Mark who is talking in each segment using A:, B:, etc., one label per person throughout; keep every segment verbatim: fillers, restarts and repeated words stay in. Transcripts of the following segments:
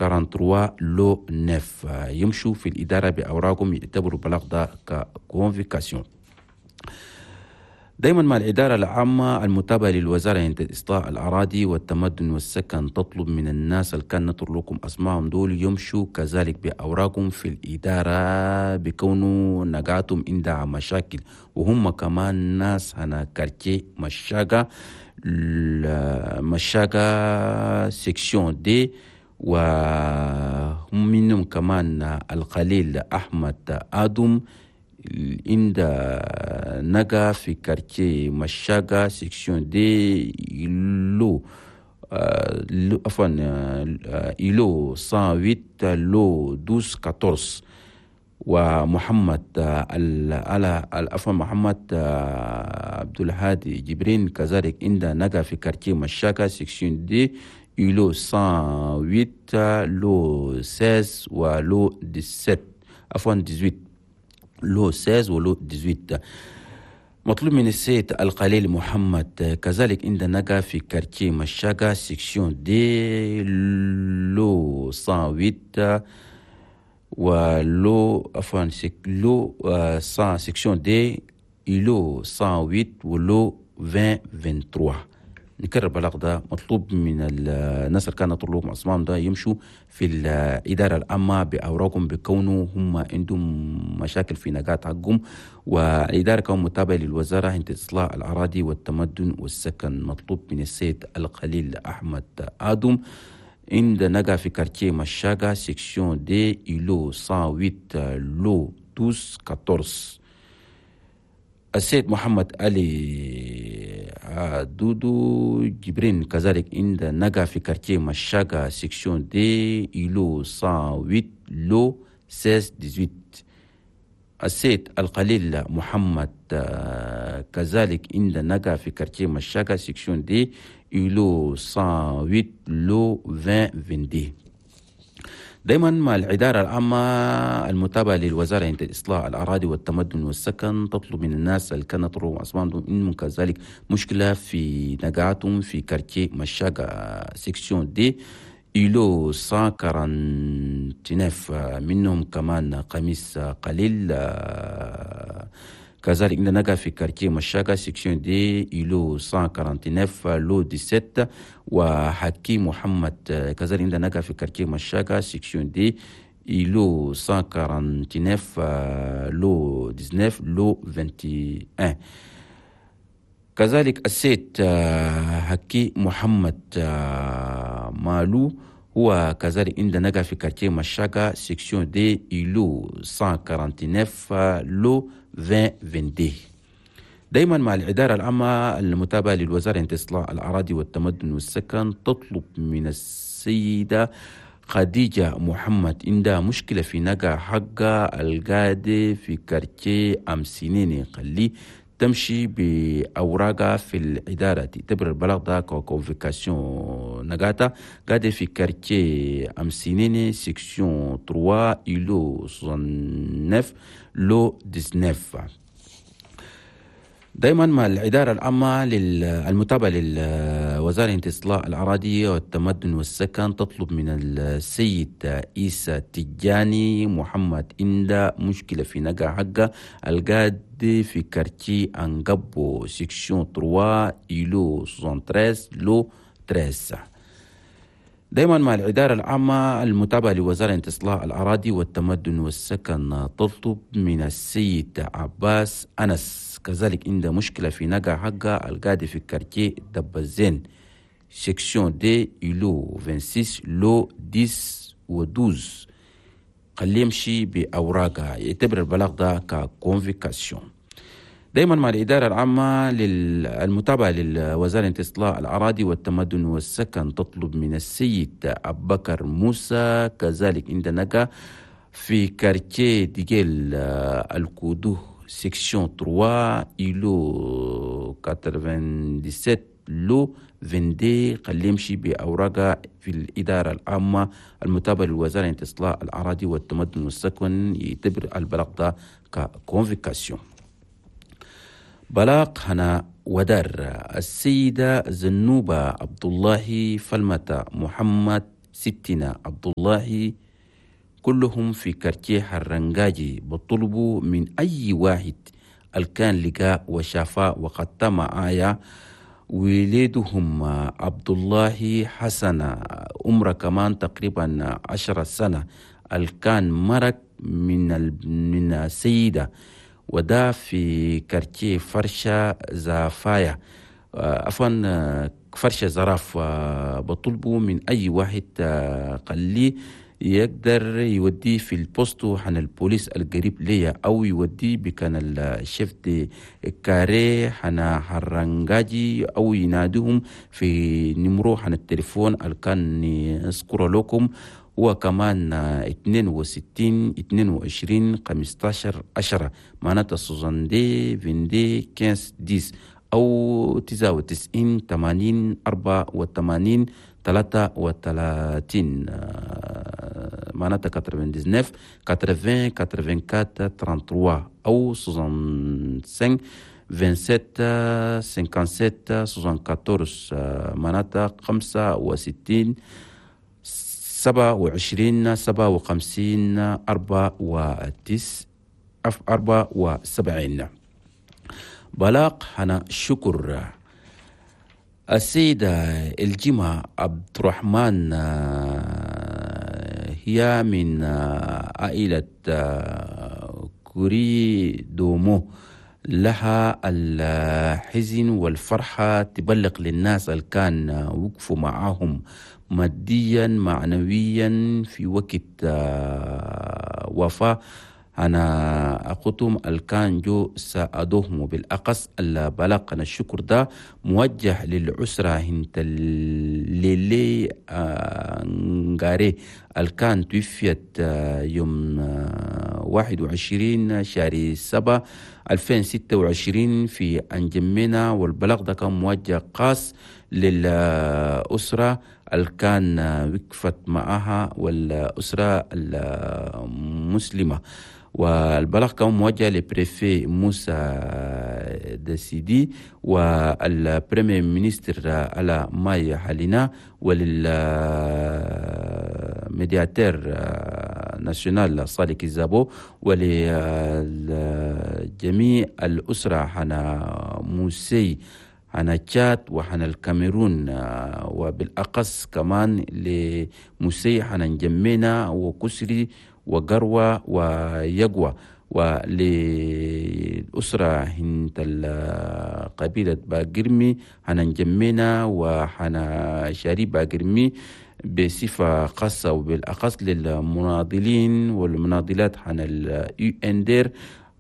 A: quarante-trois lot neuf. يمشوا في الإدارة بأوراقهم، يعتبروا البلاغ ده ك convocation. دايما مع الإدارة العامة المتابعة للوزارة عند إصلاح الأراضي والتمدن والسكن تطلب من الناس اللي كان نطر لكم أسمائهم دول يمشوا كذلك بأوراقهم في الإدارة بكونوا نقاتهم عندها مشاكل، وهم كمان ناس هنا quartier مشاقة، مشاقة section D، وهم منهم كمان الخليل أحمد آدم عند نقا في quartier مشاقة section D lot عفوا îlot مية وثمانية lot اثنا عشر أربعة عشر، ومحمد عفوا محمد عبد الهادي جبرين كذلك عند نقا في quartier مشاقة section D îlot مية وثمانية lot ستة عشر و lot سبعة عشر، عفوا ثمانية عشر، lot ستة عشر و lot ثمانية عشر. مطلوب من السيد القليل محمد كذلك عند نقا في quartier مشاقة section D lot مية وثمانية و lot عفوا lot مية section D îlot مية وثمانية و lot عشرين ثلاثة وعشرين. نكرر البلاغ ده، مطلوب من الناس اللي كانت طلوب عثمان ده يمشوا في الإدارة العامة بأوراقهم بكونه هم عندهم مشاكل في نقاط حقهم، والإدارة كمان متابعة للوزارة عند إصلاح الأراضي والتمدن والسكن. مطلوب من السيد الخليل أحمد آدم عند نقا في quartier مشاقة section D îlot مية وثمانية lot اثنا عشر أربعة عشر. السيد محمد علي دودو جبرين كذلك عند نقا في quartier مشاقة section D îlot مية وثمانية lot ستة عشر ثمانية عشر. السيد القليل محمد كذلك عند نقا في quartier مشاقة section D îlot مية وثمانية lot عشرين اثنين وعشرين. دايما مع الإدارة العامة المتابعة للوزارة عند إصلاح الأراضي والتمدن والسكن تطلب من الناس اللي كانت أسمان إنهم كذلك مشكلة في نقاتهم في quartier مشاقة section D îlot مية وتسعة وأربعين، منهم كمان قميص قليل كذلك نقا في quartier مشاقة section D îlot مية وتسعة وأربعين lot سبعة عشر، وحكيم محمد كذلك نقا في quartier مشاقة section D îlot مية وتسعة وأربعين lot تسعة عشر lot واحد وعشرين. كذلك السيد حكي محمد مالو هو كذلك عند نقا في quartier مشاقة section D îlot مية وتسعة وأربعين lot عشرين اثنين وعشرين. دايما مع الإدارة العامة المتابعة للوزارة عند إصلاح الأراضي والتمدن والسكن تطلب من السيدة خديجة محمد عندها مشكلة في نقا حقها القادة في quartier أمسينيني، خليه تمشي بأوراقها في الإدارة، تعتبر البلاغ ده convocation. نقاتا قاعدة في quartier أمسينيني section ثلاثة îlot تسعة وستين lot تسعة عشر. دايما مع الإدارة العامة للمتابعة للوزارة إصلاح الأراضي والتمدن والسكن تطلب من السيد إيسى تجاني محمد عند مشكلة في نقا حقه القاد في quartier أنقبو section ثلاثة îlot تلاتة وستين lot ثلاثة عشر. دايما مع الإدارة العامة المتابعة لوزارة إصلاح الأراضي والتمدن والسكن تطلب من السيد عباس أنس كذلك عنده مشكلة في نقا حقه القادي في quartier دبزين section D îlot ستة وعشرين lot عشرة و اثنا عشر، خليه يمشي بأوراقها، يعتبر البلاغ ده ك convocation. دايما مع الإدارة العامة للمتابعة للوزارة إصلاح الأراضي والتمدن والسكن تطلب من السيد أبو بكر موسى كذلك عند نقا في quartier ديجيل الكودو section ثلاثة îlot سبعة وثمانين lot اثنين وعشرين، خليه يمشي بأوراقه في الإدارة العامة المتابعة للوزارة إصلاح الأراضي والتمدن والسكن، يعتبر البلاغ ده ك convocation. بلاغ هنا ودار، السيدة زنوبة عبد الله فلمة محمد ستنا عبد الله كلهم في quartier حرنجاجي. بطلبوا من أي واحد الكان لقاء وشافاء وقد معايا وليدهم عبد الله حسن عمره كمان تقريبا عشرة سنة الكان مرق من من السيدة وده في quartier فرشة زافايا عفوا فرشة زراف. بطلبوا من أي واحد قال لي يقدر يوديه في ال poste حن البوليس القريب ليا أو يوديه بكان ال chef de carré حنا حرنجاجي أو يناديهم في numéro حن التليفون اللي كان اذكره لكم هو كمان اثنين وستين اثنين وعشرين خمستاشر عشرة معناتها soixante-deux vingt-deux quinze dix أو تسعة وتسعين ثمانين أربعة وثمانين ثلاثة وثلاثين معناتها quatre-vingt-dix-neuf quatre-vingts quatre-vingt-quatre trente-trois أو soixante-cinq vingt-sept cinquante-sept soixante-quatorze معناتها خمسة وستين سبعة وعشرين سبعة وخمسين أربعة وتس أربعة وسبعين. بلاغ هنا شكر السيدة الجمعة عبد الرحمن هي من عائلة كوري دومو لها الحزن والفرحة تبلغ للناس اللي كان وقفوا معاهم ماديا معنويا في وقت وفاة أنا أخوتهم الكان جو ساعدوهم. بالأقص البلاغ الشكر ده موجه للأسرة هنت الليلي نغاري الكان توفيت يوم واحد وعشرين شهر سبعة ألفين ستة وعشرين في أنجمينا. والبلاغ ده كان موجه خاص للأسرة الكان وقفت معها والأسرة المسلمة. والبلاغ كان موجه ل préfet موسى دسيدي وال premier ministre على ماي حالينا ولل médiateur national صالح كيزابو ولجميع الأسرة حنا موسي حنا تشاد وحنا الكاميرون وبالأقص كمان لموسي حنا نجمينا وكسري وقروة ويقوى وللأسرة هنت قبيلة باقرمي حنا نجمينا وحنا شاري باقرمي بصفة خاصة وبالأخص للمناضلين والمناضلات حنا اليو ان دير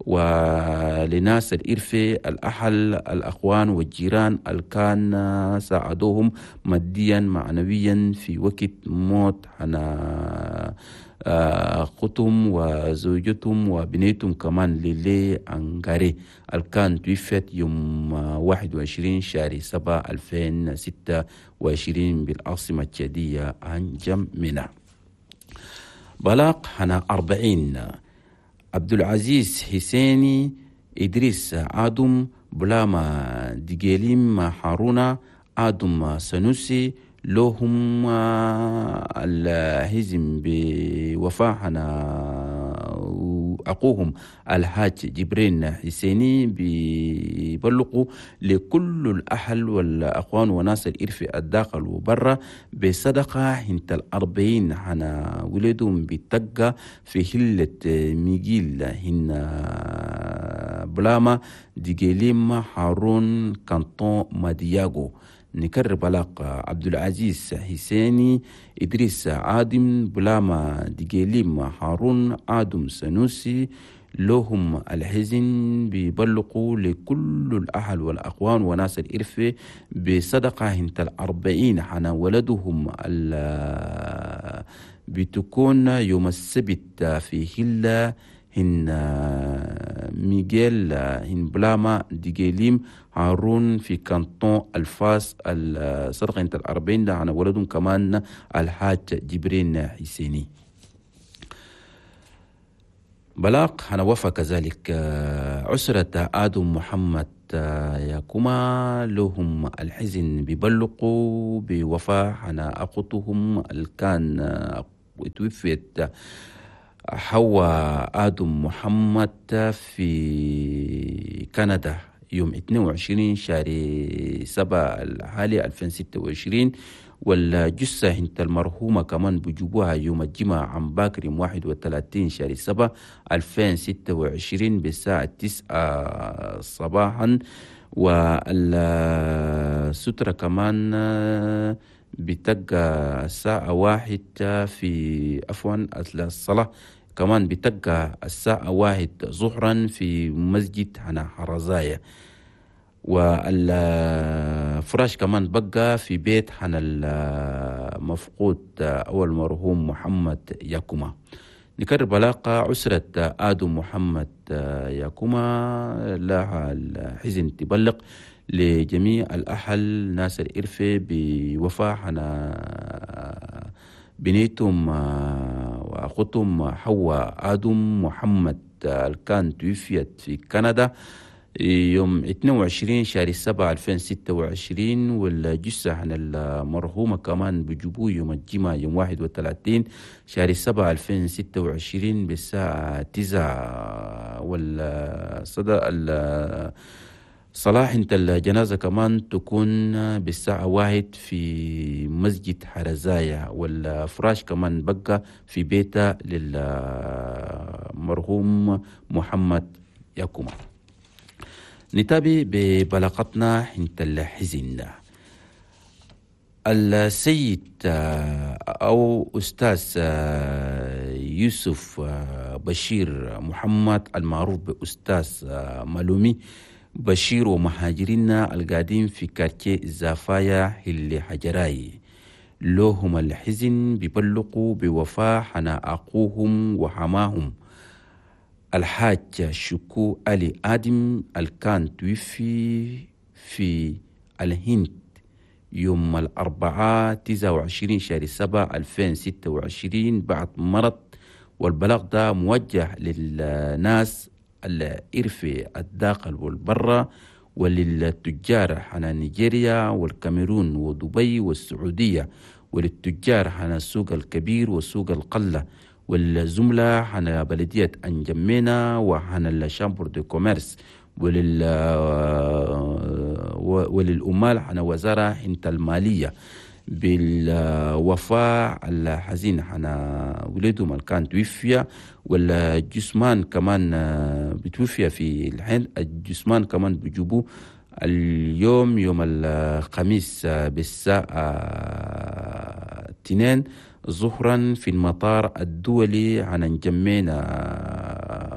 A: ولناس الإرفي الأحل الأخوان والجيران الكان ساعدوهم ماديا معنويا في وقت موت حنا أختهم وزوجتهم وبنيتهم كمان للي أنغاري الكان توفت يوم واحد وعشرين شهر سبعة ألفين ستة وعشرين بالعاصمة التشادية أنجمينا. بلاغ حنا أربعين عبد العزيز حسيني إدريس آدم بلاما ديجيليم هارونا آدم سنوسي لهم الهزم بوفاة أخوهم الحاج جبرين حسيني بيبلغوا لكل الأهل والأخوان وناس الإرف الداخل وبرا بصدقة هنت الأربعين حنا ولدهم بتقى في هلة ميجيل هن بلاما ديجيليم هارون كانتون مادياغو. نكرر بلاغ عبد العزيز حسيني إدريس عادم بلاما ديجيليم هارون آدم سنوسي لهم الحزن بيبلغوا لكل الأهل والأخوان وناس الإرفة بصدقة هنت الأربعين حنا ولدهم بتكون يوم السبت في هلة هن ميغيل هن بلاما ديجيليم هارون في كانتون الفاس الصدقة انت الأربعين ده عن ولدهم كمان الحاج جبرين حسيني. بلاغ هنوفى كذلك عسرة آدم محمد ياكما لهم الحزن بيبلغوا بوفاة حنا أخوتهم اللي كان توفيت حواء آدم محمد في كندا يوم اثنين وعشرين شهر سبعة الحالي ألفين وستة وعشرين، والجثة انت المرحومة كمان بجيبوها يوم الجمعة عن باكر يوم واحد وثلاثين شهر سبعة ألفين وستة وعشرين بالساعة تسعة صباحا. والسترة كمان بتبقى الساعة واحد في عفوا الصلاة كمان بتبقى الساعة واحد ظهرا في مسجد هنا حرزايا. والفراش كمان بقى في بيت حنا المفقود أو المرحوم محمد ياكوما. نكرر بلاقة عسرة آدم محمد ياكوما لها الحزن تبلغ لجميع الأهل ناس الإرفة بوفاة حنا بنيتهم وأخوتهم حواء آدم محمد كان توفيت في كندا يوم اثنين وعشرين شهر سبعة ألفين وستة وعشرين، والجثة عن المرحومة كمان بجيبوه يوم الجمعة يوم واحد وثلاثين شهر سبعة ألفين وستة وعشرين بالساعة تسعة. والصدى صلاح انت الجنازة كمان تكون بالساعة واحد في مسجد حرزايا، والفراش كمان بقى في بيته للمرحوم محمد ياكوما. نتابع ببلاغتنا انت الحزن. السيد أو أستاذ يوسف بشير محمد المعروف بأستاذ مالومي بشير ومهاجرينا القادين في كارتيه زافايا اللي حجراي لهم الحزن بيبلغوا بوفاة حنا أخوهم وحماهم الحاج شكو علي آدم الكان توفي في الهند يوم الأربعاء تسعة وعشرين شهر سبعة ألفين وستة وعشرين بعد مرض. والبلاغ ده موجه للناس الإرفي الداخل والبرة وللتجار حنا نيجيريا والكاميرون ودبي والسعودية، وللتجار حنا السوق الكبير والسوق القلة، والزملاء حنا بلدية أنجمينا وحنا ال chambre de commerce، ولل وللأمال حنا وزارة انت المالية بالوفاة الحزين حنا ولدهم كان توفي، والجسمان كمان بتوفي في الحين الجسمان كمان بجيبوه اليوم يوم الخميس بالساعة اثنين ظهرا في المطار الدولي عن نجمينا.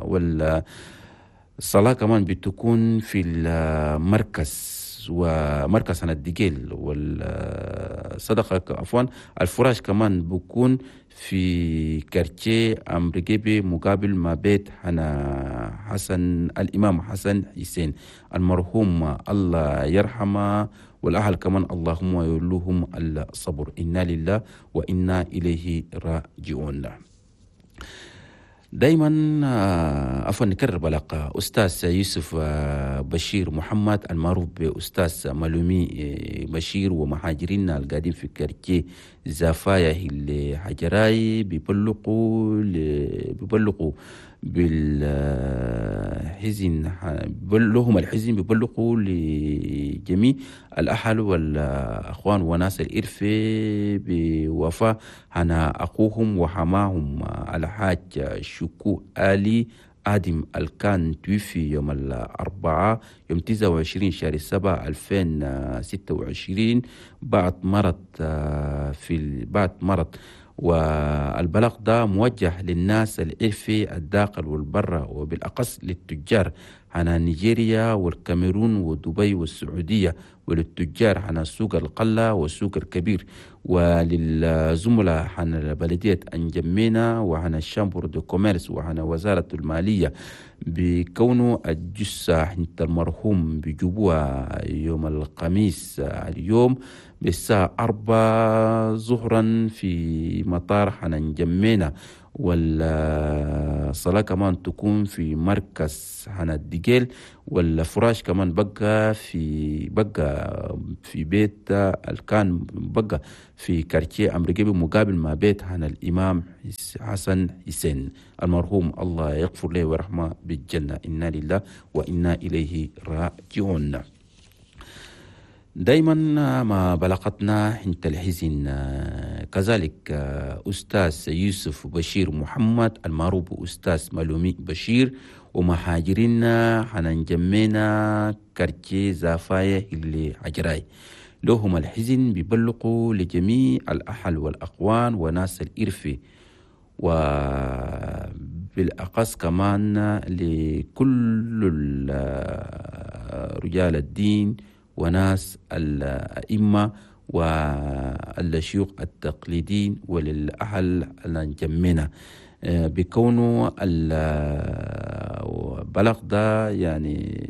A: والصلاة كمان بتكون في المركز ومركز عن الدجيل، والصدقة عفوا الفراش كمان بكون في كارتيه أمريكي مقابل ما بيت حنا حسن الإمام حسن حسين المرحوم الله يرحمه، والأهل كمان اللهم يولوهم الصبر، إنا لله وإنا إليه راجعون. دايما عفوا نكرر بلاقة أستاذ يوسف بشير محمد المعروف بأستاذ مالومي بشير ومهاجرين القادين في كارتيه زافايا اللي حجراي بيبلغوا بيبلغوا بالحزن لهم الحزن بيبلغوا لجميع الأهل والأخوان وناس الإرفة بوفاة هنا أخوهم وحماهم الحاج شكو آلي آدم الكان توفي يوم الأربعاء يوم تسعة وعشرين شهر سبعة ألفين وستة وعشرين بعد مرض في بعد مرض. والبلاغ ده موجه للناس الإرفي الداخل والبرة، وبالأقص للتجار على نيجيريا والكاميرون ودبي والسعودية، وللتجار على سوق القلة والسوق الكبير، وللزملاء على بلدية أنجمينا وعلى ال chambre de commerce وعلى وزارة المالية بكونه الجثة عند المرحوم بجوبوها يوم الخميس اليوم بالساعة أربعة ظهرا في مطار حننجمينا. والصلاة كمان تكون في مركز هنا الدجيل، والفراش كمان بقى في بقى في بيت كان بقى في كارتيه أمريكي مقابل ما بيت هنا الإمام حسن حسين المرحوم، الله يغفر له ويرحمه بالجنة، إنا لله وإنا إليه راجعون. دايما ما بلغتنا انت الحزن كذلك أستاذ يوسف بشير محمد المعروف أستاذ ملومي بشير ومهاجرين حننجمينا كارتيه زافاية اللي عجراي، لهم الحزن بيبلغوا لجميع الأهل والأقوان وناس الإرفي، وبالأقص كمان لكل رجال الدين وناس الأئمة والشيوخ التقليديين وللأهل الجمينة، بكونه البلغ ده يعني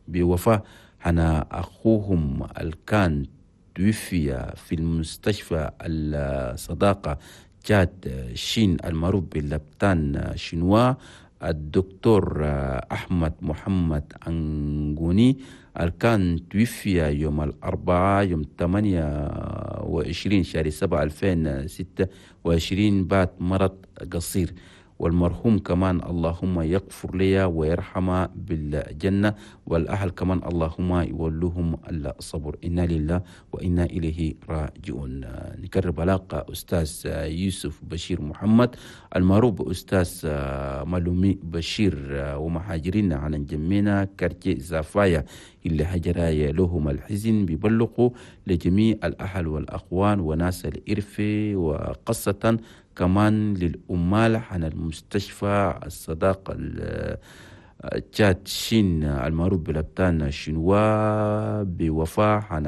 A: بوفاة أنا أخوهم الكان توفي في المستشفى الصداقة جاد شين المعروف باللبتان شنوا الدكتور أحمد محمد أنغوني الكان توفي يوم الأربعاء يوم ثمانية وعشرين شهر سبعة ألفين وستة وعشرين بعد مرض قصير. والمرحوم كمان اللهم يغفر لي ويرحمه بالجنة، والأهل كمان اللهم يولوهم الصبر، إنا لله وإنا إليه راجعون. نكرر بلاغ أستاذ يوسف بشير محمد المعروف أستاذ ملومي بشير ومهاجرين عن جمينا كارتيه زافايا اللي هجرايا لهم الحزن بيبلغوا لجميع الأهل والأخوان وناس الإرفي، وقصة كمان للأمال عن المستشفى الصداقة تشاد شين المعروف بلبتان شنوا بوفاة عن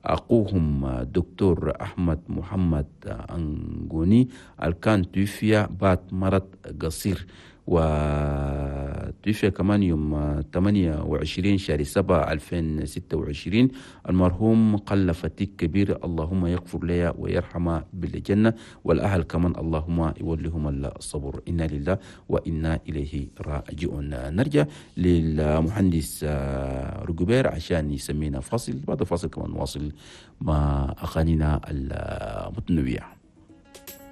A: أخوهم دكتور أحمد محمد أنغوني الكان توفي بعد مرض قصير، وتوفي كمان يوم ثمانية وعشرين شهر سبعة ألفين وستة وعشرين. المرحوم قل فتيك كبير، اللهم يغفر لي ويرحمه بالجنة، والأهل كمان اللهم يوليهم الصبر، إنا لله وإنا إليه راجعون. نرجع للمهندس رجبير عشان يسمينا فاصل، بعد فاصل كمان نواصل مع أغانينا المتنوعة.